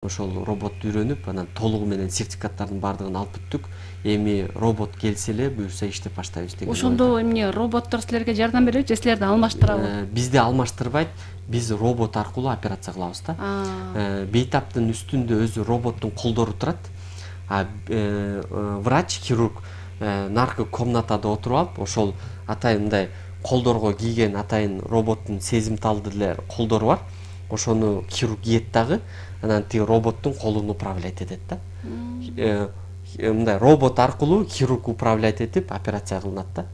ошол робот үйрөнүп, анан толугу менен сертификаттардын баардыгын алып бүттүк. Эми робот келсе эле буюрса иштеп баштайбыз деген. Ошондо эмне роботтор силерге жардам береби же силерди алмаштырабы? Бизди алмаштырбайт, биз робот аркылуу операция кылабыз да. Бейтаптын үстүндө өзү роботтун колдору турат. Врач, хирург наркы комнатада отуруп алып, ошол атайын мындай колдорго кийген атайын роботтун сезимталдуу эле колдору бар. Ошону хирург кийет дагы, анан тиги роботтун колун управлять этет да. Мындай робот аркылуу хирург управлять этип операция кылынат да.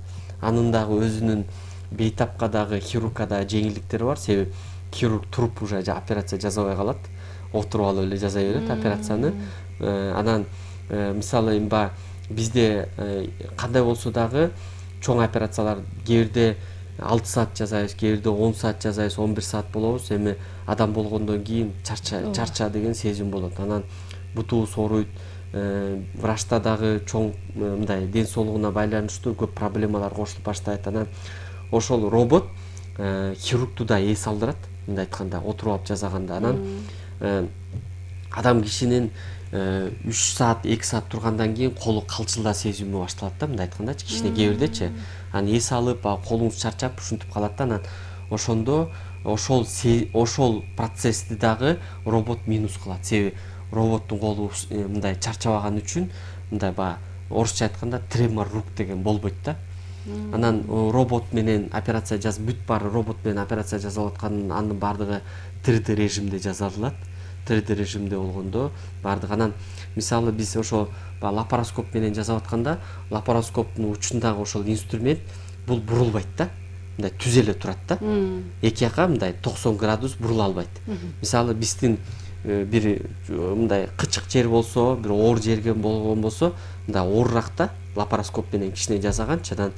Анын дагы өзүнүн бейтапка дагы хирургка дагы жеңилдиктери бар. Себеби хирург туруп уже операция жасабай калат, отуруп алып эле жасай берет операцияны. Анан мисалы эми бизде кандай болсо дагы чоң операциялар кээ бирде 6 саат жасайбыз, кээ бирде 10 саат жасайбыз, 11 саат болобуз. Эми адам болгондон кийин чарча деген сезим болот. Анан бутубуз ооруйт. Врачта дагы чоң мындай ден соолугуна байланыштуу көп проблемалар кошулуп баштайт. Анан ошол робот хирургду да эс алдырат, мындай айтканда, отуруп алып жасаганда. Анан адам кишинин 3 саат, 2 саат тургандан кийин колу калчылда сезими башталат да, мындай айтканда, кичине кээ бирдечи. Анан эс алып, колуңуз чарчап ушинтип калат да. Анан ошондо ошол процессти дагы робот минус кылат. Себеби роботтун колу мындай чарчабаган үчүн мындай орусча айтканда тремор рук деген болбойт да. Анан робот менен операция бүт баары робот менен операция жасалып аткан, анын баардыгы 3D режимде жасалат. 3D режимде болгондо баардыгы. Анан мисалы биз ошо лапароскоп менен жасап атканда, лапароскоптун учундагы ошол инструмент бул бурулбайт да. Мындай түз эле турат да. Эки жака мындай 90 градус бурула албайт. Мисалы биздин бир мындай кычык жер болсо, бир оор жерге болгон болсо, мындай ооруракта лапароскоп менен кичине жасаганчы анан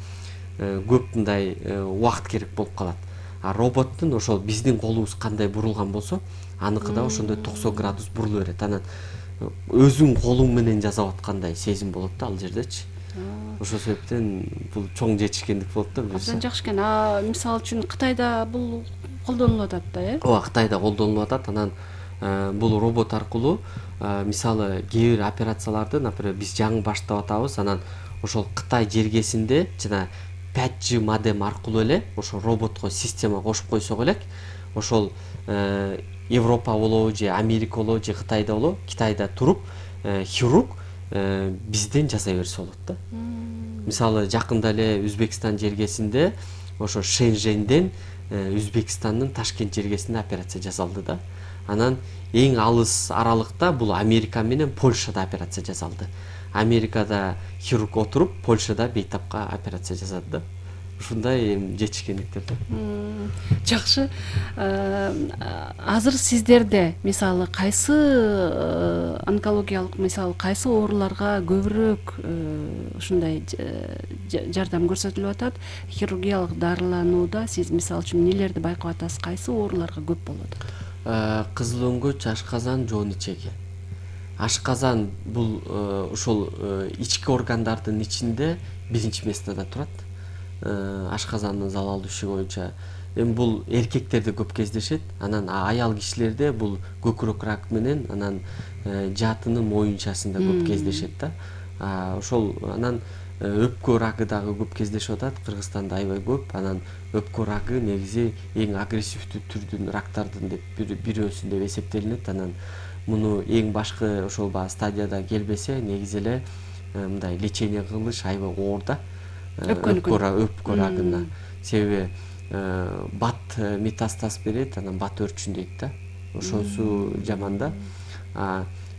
көп мындай убакыт керек болуп калат. А роботтун ошол биздин колубуз кандай бурулган болсо, аныкы да ошондой 90 градус буруло берет. Анан өзүң колуң менен жасап аткандай сезим болот да ал жердечи. Ошол себептен бул чоң жетишкендик болот да. Абдан жакшы экен. Мисалы үчүн Кытайда бул колдонулуп атат да, э? Ооба, Кытайда колдонулуп атат. Анан бул робот аркылуу мисалы кээ бир операцияларды, например, биз жаңы баштап атабыз, анан ошол Кытай жергесинде жана 5G модем аркылуу эле ошол роботко система кошуп койсок элек, ошол Европа болобу же Америка болобу же Кытайда болобу, Китайда туруп хирург бизден жасай берсе болот да. Мисалы жакында эле Өзбекстан жергесинде ошо Шэньчжэньден Өзбекстандын Ташкент жергесинде операция жасалды да. Анан эң алыс аралыкта бул Америка менен Польшада операция жасалды. Америкада хирург отуруп, Польшада бейтапка операция жасады да. Ушундай жетишкендиктер да. Жакшы. Азыр сиздерде мисалы кайсы онкологиялык, мисалы кайсы ооруларга көбүрөөк ушундай жардам көрсөтүлүп атат? Хирургиялык дарыланууда сиз мисалы үчүн эмнелерди байкап атасыз? Кайсы ооруларга көп болуп атат? Кызыл өңгөч, ашказан, жоон ичеги. Ашказан бул ошол ички органдардын ичинде биринчи местада турат. Ашказандын залалдуу иши боюнча. Эми бул эркектерде көп кездешет. Анан аял кишилерде бул көкүрөк рак менен анан жаатынын моюнчасында көп кездешет да. Ошол анан өпкө рагы дагы көп кездешип атат. Кыргызстанда аябай көп. Анан өпкө рагы негизи эң агрессивдүү түрдүн рактардын деп бирөөсү деп эсептелинет. Анан муну эң башкы ошол стадияда келбесе, негизи эле мындай лечение кылыш аябай оор да. Өпкө рагына. Себеби бат метастаз берет, анан бат өрчүн дейт да. Ошонусу жаман да.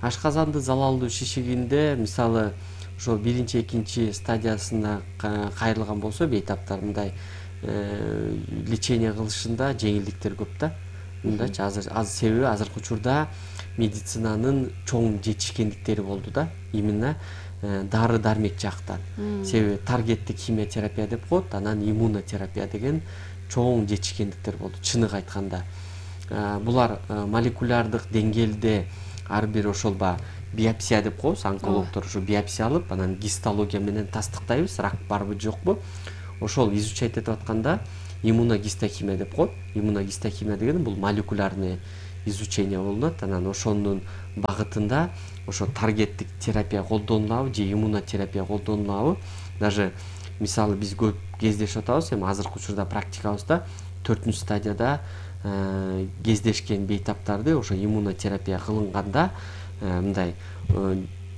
Ашказанды залалдуу шишигинде мисалы ошол биринчи, экинчи стадиясына кайрылган болсо, бейтаптар мындай лечение кылышында жеңилдиктер көп да. Мындайчы себеби азыркы учурда медицинанын чоң жетишкендиктери болду да. Именно дары дармек жактан. Себеби таргеттик химиотерапия деп коет, анан иммунотерапия деген чоң жетишкендиктер болду, чыныгы айтканда. Булар молекулярдык деңгээлде ар бир ошол биопсия деп коебуз, онкологдор ушу биопсия алып, анан гистология менен тастыктайбыз, рак барбы жокпу. Ошол изучать этип атканда иммуногистохимия деп коет. Иммуногистохимия деген бул молекулярный изучение болунат. Анан ошонун багытында ошо таргеттик терапия колдонулабы же иммунотерапия колдонулабы. Даже мисалы биз көп кездешип атабыз, эми азыркы учурда практикабызда 4-стадияда кездешкен бейтаптарды ошо иммунотерапия кылынганда мындай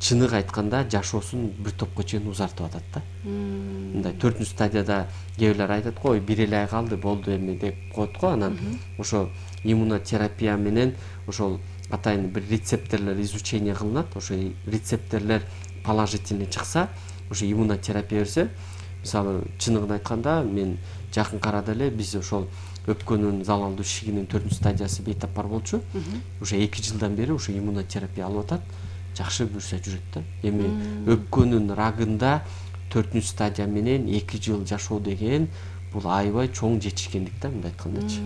чыныгы айтканда жашоосун бир топко чейин узартып атат да. Мындай 4-стадияда кээ бирлер айтат го, бир эле ай калды болду эми деп коет го. Анан ошо иммунотерапия менен ошол атайын бир рецепторлор изучение кылынат. Ошо рецепторлор положительный чыкса, ошо иммунотерапия берсе, мисалы чыныгын айтканда мен жакынкы арада эле биз ошол өпкөнүн залалдуу ишигинин 4-стадиясы бейтап бар болчу. Уже 2 жылдан бери ошо иммунотерапия алып атат. Жакшы бүрсө жүрөт да. Эми өпкөнүн рагында 4-стадия менен 2 жыл жашоо деген бул аябай чоң жетишкендик да, мындай айткандачы.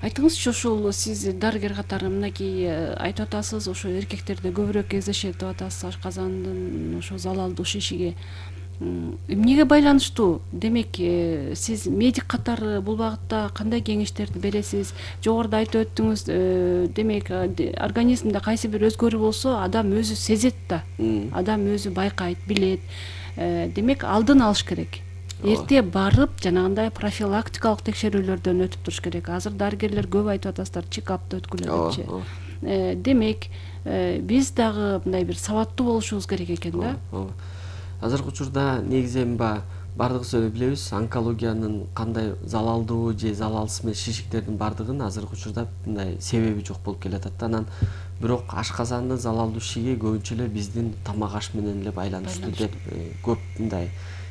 Айтыңызчы, ошол сиз дарыгер катары мынакей айтып атасыз, ошо эркектерде көбүрөөк кездешет деп атасыз, ашказандын ошо залалдуу шишиги. Эмнеге байланыштуу? Демек, сиз медик катары бул багытта кандай кеңештерди бересиз? Жогоруда айтып өттүңүз, демек, организмде кайсы бир өзгөрүү болсо, адам өзү сезет да. Адам өзү байкайт, билет. Демек, алдын алыш керек. Эрте барып, жанагындай профилактикалык текшерүүлөрдөн өтүп туруш керек. Азыр дарыгерлер көп айтып атасыздар, чекапты өткүлө депчи. Демек, биз дагы мындай бир сабаттуу болушубуз керек экен да. Азыркы учурда негизи эми бардыгыбыз билебиз, онкологиянын кандай залалдуу же залалсыз эмес шишиктердин бардыгын азыркы учурда мындай себеби жок болуп келатат да. Анан бирок ашказандын залалдуу шишиги көбүнчө эле биздин тамак аш менен эле байланыштуу деп көп мындай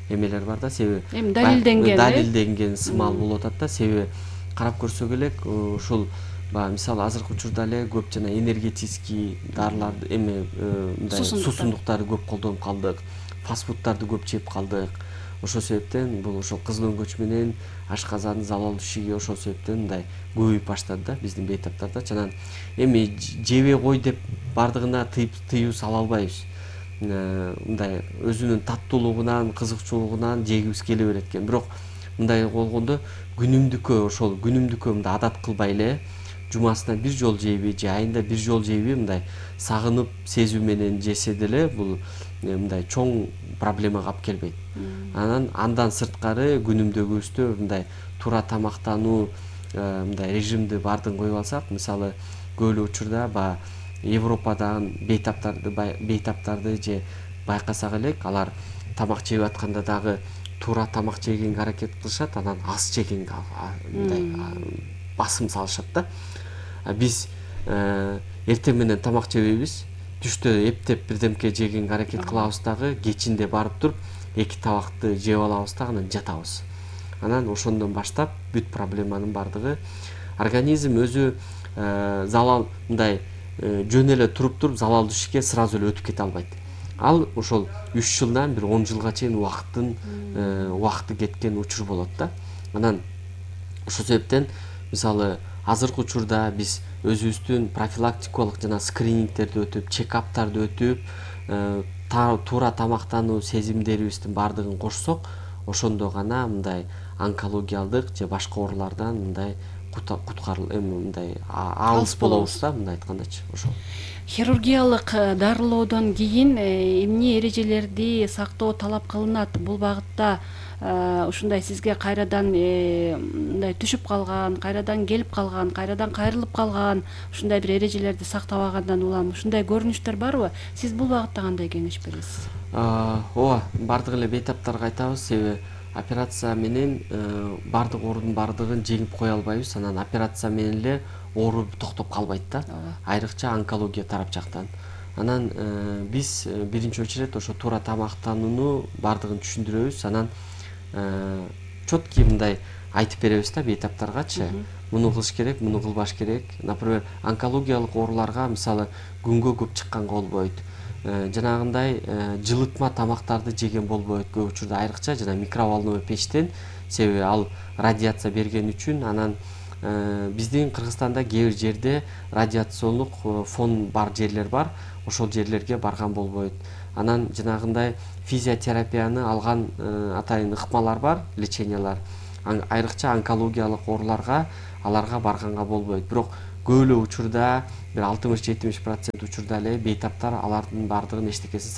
эмелер бар да. Себеби эми далилденген сымал болуп атат да. Себеби карап көрсөк элек ушул мисалы азыркы учурда эле көп жана энергетический дарыларды эми мындай суусундуктарды көп колдонуп калдык, фастфудтарды көп жеп калдык. Ошол себептен бул ошол кызыл өңгөч менен ашказандын залалдуу шишиги ошол себептен мындай көбөйүп баштады да биздин бейтаптарда. Анан эми жебей кой деп бардыгына тыюу сала албайбыз. Мындай өзүнүн таттуулугунан, кызыкчуулугунан жегибиз келе берет экен. Бирок мындай болгондо күнүмдүккө мындай адат кылбай эле жумасына бир жолу жейби же айында бир жолу жейби мындай сагынып сезүү менен жесе деле бул мындай чоң проблемага алып келбейт. Андан сырткары күнүмдөгүбүздө мындай туура тамактануу мындай режимди бардын коюп алсак, мисалы көп эле учурда Европадагы бейтаптарды же байкасак элек, алар тамак жеп атканда дагы туура тамак жегенге аракет кылышат, анан аз жегенге мындай басым салышат да. Биз эртең менен тамак жебейбиз, түштө эптеп бирдемке жегенге аракет кылабыз дагы, кечинде барып туруп 2 табакты жеп алабыз да анан жатабыз. Анан ошондон баштап бүт проблеманын бардыгы организм өзү залал мындай жөн эле туруп залалдуу шишикке сразу эле өтүп кете албайт. Ал ошол 3 жылдан бир 10 жылга чейин убакыты кеткен учур болот да. Анан ошол себептен мисалы азыркы учурда биз өзүбүздүн профилактикалык жана скринингтерди өтүп, чекаптарды өтүп, туура тамактануу сезимдерибиздин бардыгын кошсок, ошондо гана мындай онкологиялык же башка оорулардан мындай мындай алыс болобуз да, мындай айткандачы. Ошол Хирургиялык дарылоодон кийин эмне эрежелерди сактоо талап кылынат? Бул багытта ушундай сизге кайрадан мындай түшүп калган, кайрадан келип калган, кайрадан кайрылып калган, ушундай бир эрежелерди сактабагандан улам ушундай көрүнүштөр барбы? Сиз бул багытта кандай кеңеш бересиз? Ооба, бардык эле бейтаптарга айтабыз, себеби операция менен бардык оорунун бардыгын жеңип кое албайбыз. Анан операция менен эле оору токтоп калбайт да. Айрыкча онкология тарап жактан. Анан биз биринчи очередь ошо туура тамактанууну бардыгын түшүндүрөбүз. Анан четкий мындай айтып беребиз да бейтаптаргачы. Муну кылыш керек, муну кылбаш керек. Например, онкологиялык ооруларга мисалы күнгө көп чыкканга болбойт. Жанагындай жылытма тамактарды жеген болбойт көп учурда, айрыкча жана микроволновый печтен, себеби ал радиация берген үчүн. Анан биздин Кыргызстанда кээ бир жерде радиациондук фон бар жерлер бар, ошол жерлерге барган болбойт. Анан жанагындай физиотерапияны алган атайын ыкмалар бар, лечениялар. Айрыкча онкологиялык ооруларга аларга барганга болбойт. Бирок көп эле учурда бир 60-70% учурда эле бейтаптар алардын баардыгын эчтекесин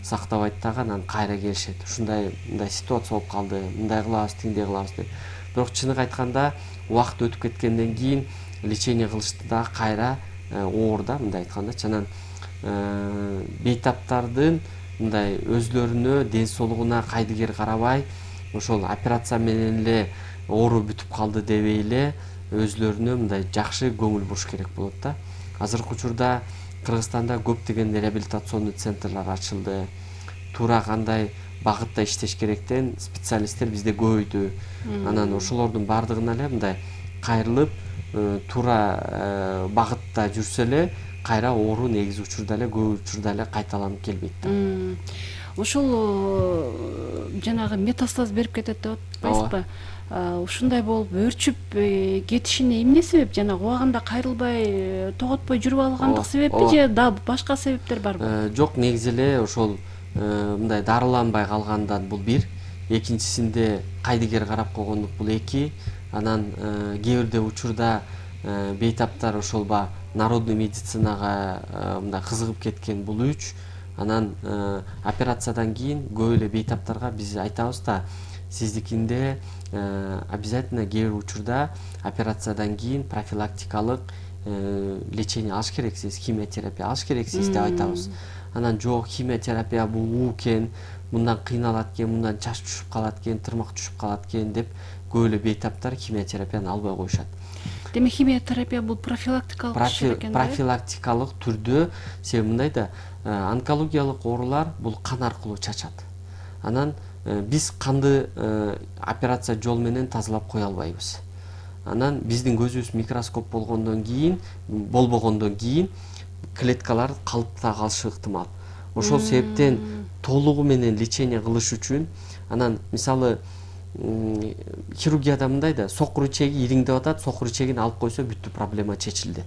сактабайт дагы анан кайра келишет. Ушундай мындай ситуация болуп калды, мындай кылабыз, тиңдей кылабыз деп. Бирок чыныгы айтканда убакыт өтүп кеткенден кийин лечение кылышты дагы кайра оор да, мындай айткандачы. Анан бейтаптардын мындай өзлөрүнө ден соолугуна кайдыгер карабай, ошол операция менен эле оору бүтүп калды дебей эле өзлөрүнө мындай жакшы көңүл буруш керек болот да. Азыркы учурда Кыргызстанда көптөгөн реабилитационный центрлар ачылды. Туура кандай багытта иштеш керектен специалисттер бизде көбөйдү. Анан ошолордун баардыгына эле мындай кайрылып, туура багытта жүрсө эле кайра оору негизи учурда эле көп учурда эле кайталанып келбейт да. Ошол жанагы метастаз берип кетет деп атпайсызбы? Ушундай болуп өөрчүп кетишине эмне себеп? Жанагы убагында кайрылбай, тоготпой жүрүп алгандык себеппи же да башка себептер барбы? Жок, негизи эле ошол мындай дарыланбай калгандан бул бир, экинчисинде кайдыгер карап койгондук бул эки. Анан кээ бирде учурда бейтаптар ошол народный медицинага мындай кызыгып кеткен бул үч. Анан операциядан кийин көп эле бейтаптарга биз айтабыз да, сиздикинде обязательно кээ бир учурда операциядан кийин профилактикалык лечение алыш керексиз, химиотерапия алыш керексиз деп айтабыз. Анан жок, химиотерапия бул уу экен, мындан кыйналат экен, мындан чач түшүп калат экен, тырмак түшүп калат экен деп көп эле бейтаптар химиотерапияны албай коюшат. Демек химиотерапия бул профилактикалык иш экен да? Профилактикалык түрдө, себеби мындай да, онкологиялык оорулар бул кан аркылуу чачат. Анан биз канды операция жол менен тазалап кое албайбыз. Анан биздин көзүбүз микроскоп болбогондон кийин клеткалар калыпта калышы ыктымал. Ошол себептен толугу менен лечение кылыш үчүн, анан мисалы хирургияда мындай да, сокур ичеги ириңдеп атат, сокур ичегин алып койсо бүттү, проблема чечилди.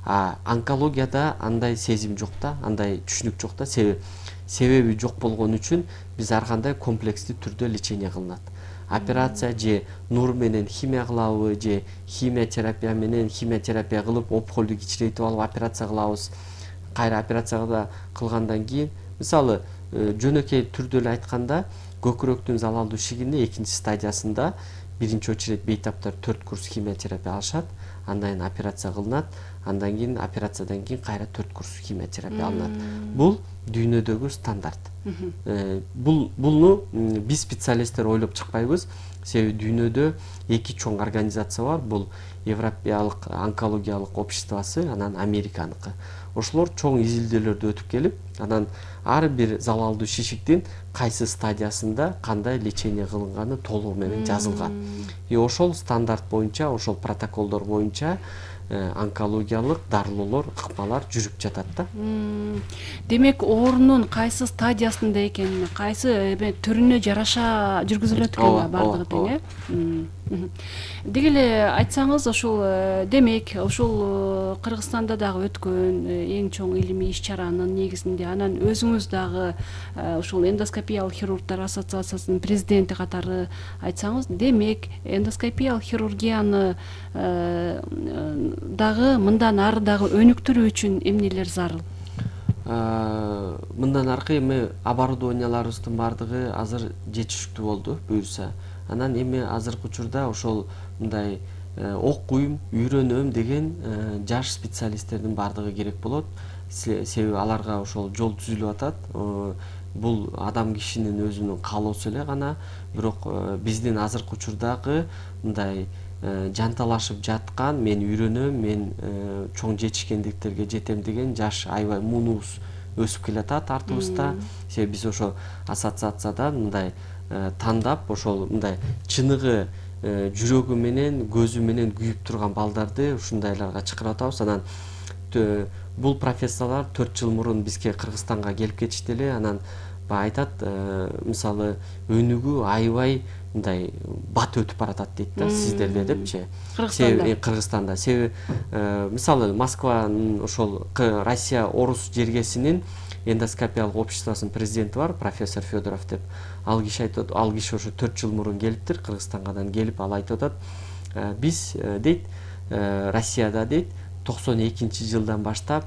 Онкологияда андай сезим жок да, андай түшүнүк жок да, себеби жок болгон үчүн биз ар кандай комплекстүү түрдө лечение кылынат. Операция же нур менен химия кылабы, же химиотерапия менен химиотерапия кылып опухолду кичирейтип алып операция кылабыз. Кайра операция кылгандан кийин, мисалы жөнөкөй түрдө эле айтканда, көкүрөктүн залалдуу ишигинде экинчи стадиясында биринчи очередь бейтаптар 4 курс химиотерапия алышат, андан кийин операция кылынат, андан кийин операциядан кийин кайра 4 курс химиотерапия алынат. Бул дүйнөдөгү стандарт. Булну биз специалисттер ойлоп чыкпайбыз, себеби дүйнөдө эки чоң организация бар. Бул Европалык онкологиялык обществосы, анан Американыкы. Ошолор чоң изилдөөлөрдү өтүп келип, анан ар бир залалдуу шишиктин кайсы стадиясында кандай лечение кылынганы толугу менен жазылган. Ошол стандарт боюнча, ошол протоколдор боюнча онкологиялык дарылоолор, ыкмалар жүрүп жатат да. Демек, оорунун кайсы стадиясында экенине, кайсы түрүнө жараша жүргүзүлөт экен бардыгы тең, э? Деги эле айтсаңыз, ошол демек, ошол Кыргызстанда дагы өткөн эң чоң илимий иш-чаранын негизинде, анан өзүңүз дагы ошол эндоскопиялык хирургтар ассоциациясынын президенти катары айтсаңыз, демек, эндоскопиялык хирургияны дагы мындан ары дагы өнүктүрүү үчүн эмнелер зарыл? Мындан аркы эми оборудованияларыбыздын баардыгы азыр жетиштүү болду, буюрса. Анан эми азыркы учурда ошол мындай окуйм, үйрөнөм деген жаш специалисттердин баардыгы керек болот. Себеби аларга ошол жол түзүлүп атат. Бул адам кишинин өзүнүн каалоосу эле гана, бирок биздин азыркы учурдагы мындай жанталашып жаткан, мен үйрөнөм, мен чоң жетишкендиктерге жетем деген жаш аябай муунубуз өсүп келатат артыбызда. Себеби биз ошо ассоциациядан мындай тандап, ошол мындай чыныгы жүрөгү менен, көзү менен күйүп турган балдарды ушундайларга чакырып атабыз. Анан бул профессорлор 4 жыл мурун бизге Кыргызстанга келип кетишти эле. Анан айтат, мисалы өнүгүү аябай мындай бат өтүп баратат дейт да, сиздерде депчи. Кыргызстанда. Себеби мисалы Москванын ошол Россия Орус жергесинин эндоскопиялык обществосунун президенти бар, профессор Федоров деп. Ал киши айтат, ошо 4 жыл мурун келиптир Кыргызстангадан келип, ал айтып атат, биз дейт Россияда дейт 92 жылдан баштап